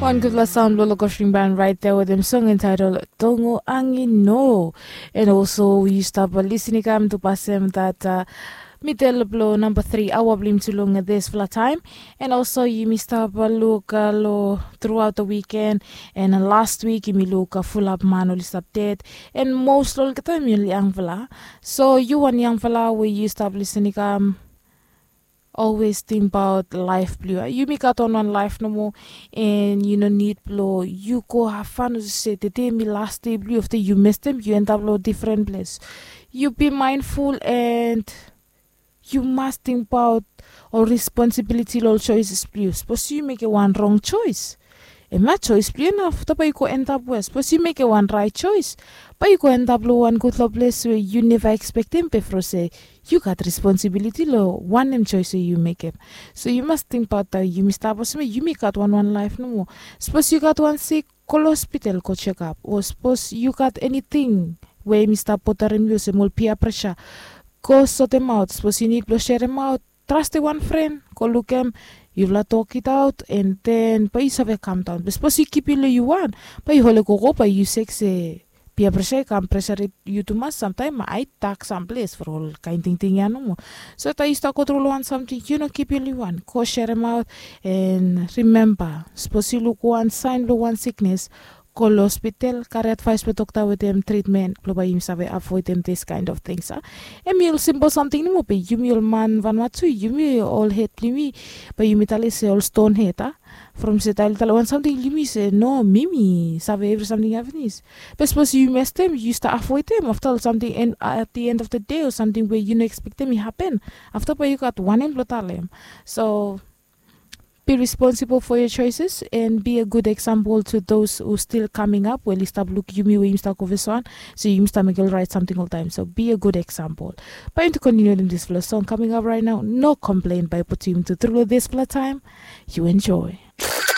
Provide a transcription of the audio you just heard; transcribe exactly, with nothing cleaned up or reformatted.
Wan gutpela saun blong lokosring ban rait de wetem song entitled Tongo Angi No. And also yu stap lisin i kam tu pasem dat midel blong namba tri aua blong yumi tu long dispela taim. And also yumi stap luk long thruaut da wiken. And last wik yumi luk fulap man oli stap ded. And mos long olgeta yumi ol yangfala. So yu wan yangfala we yu stap lisin i kam, always tingbaot laif blong yu. Yumi gat wan wan laif nomo. And yu no nid blong yu go hafan olsem se tede mi las de blong yu, afta yu mestem yu endap long difren ples. Yu bi mindful and yu mas tingbaot ol responsibiliti long ol choices blong yu. Sapos yu mekim wan rong choice, em ya choice blong yu na afta bai yu go endap we sapos yu mekim wan rait choice, bai yu go endap long wan gutpela ples we yu neva ekspektim bifo se yu gat responsibiliti long wanem choice we yu mekim. So yu mas tingbaot taim yumi stap olsem yumi gat wan wan laif nomo. Sapos yu gat wan sik, go long hospital go chekap. O sapos yu gat eniting we yumi stap botarim yu olsem ol pia presa, go sotem aut. Sapos yu nid blong serem aut, trastem wan fren, go lukim, yufala tokitaut, and then bai yu save kam daun. Be sapos yu kipim long yu wan, bai yu holi gogo bai yu sek se pia presa i kam presaret yu tumas samtaim ma ai tak samples for ol kain tingting ya nomo. So taim yu stap go tru long wan samting yu no kipim long yu wan, go serem aut. And rimemba, sapos yu luk wan sain blong wan siknes, go long hospital, kari advais blong dokta wetem tritmen blong bai yumi save avoidim dis kain of tings a. Em i ol simpol samting nomo be yumi ol man vanua tu yumi ol het blong yumi, bai yumi talem se ol ston het a. From se taim ol talem wan samting long yumi se no, mi mi save evri samting ya pinis. Be sapos yu mestem yu stap avoidim afta ol samting, and at the end of the day ol samting we yu no ekspektim i hapen, afta bai yu gat wanem blong talem. So be responsible for your choices and be a good example to those who still coming up, we oli stap luk yumi we yumi stap go first one. So yumi stap mekim ol rait samting oltaim, so be a good example. Bai yumi tu kontiniu wetem dispela song coming up right now, no complain, bai putim yumi tu tru long dispela taim. You enjoy.